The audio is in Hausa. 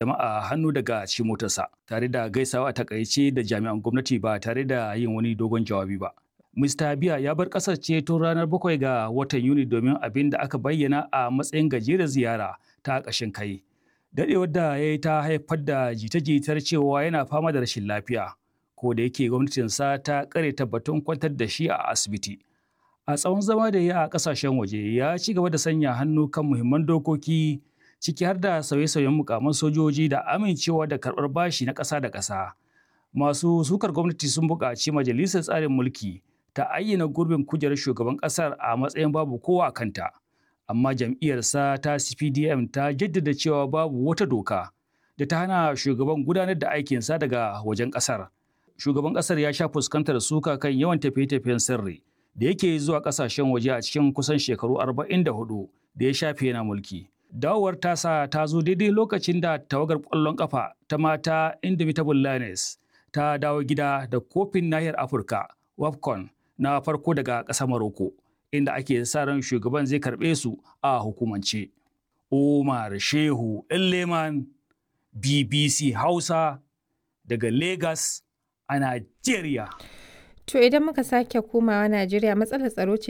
Jama'a hannu daga cikin motarsa tare da gaisawa a takaice da jami'an gwamnati ba tare da yin wani dogon jawabi ba. Mr. Biya ya bar ƙasar ce tun ranar 7 ga watan Yuni domin abin da aka bayyana a matsayin gajerar ziyara ta ƙashin kai. Daɗewar da ya yi ta haifar da jita-jitar cewa yana fama da rashin lafiya, ko da yake gwamnatinsa ta ƙare tabbatun kwantar da shi a asibiti. A tsawon zama da ya a ƙasashen waje ya ci gaba da sanya hannu kan muhimman dokoki, ciki har da sauye-sauyen mukaman sojoji da amincewa da karɓar bashi na ƙasa da ƙasa. Masu sukar gwamnati sun buƙaci majalisar tsarin mulki ta ayyana gurbin kujerar shugaban ƙasar a matsayin babu kowa a kanta. Amma jam'iyyarsa ta CPDM ta jaddada cewa babu wata doka da ta hana shugaban gudanar da aikinsa daga wajen ƙasar. Shugaban ƙasar ya sha fuskantar suka kan yawan tafiye-tafiyen sirri da yake zuwa ƙasashen waje a cikin kusan shekaru 44 da ya shafe yana mulki. Dawowar tasa ta zo daidai lokacin da tawagar ƙwallon ƙafa ta mata Indomitable Lioness ta dawo gida da kofin nahiyar Afirka WAFCON na farko daga ƙasar Morocco, inda ake sa ran shugaban zai karɓe su a hukumance. Umar Shehu Leman, BBC Hausa, daga Lagos a Najeriya. To idan muka sake komawa Najeriya, matsalar tsaro ce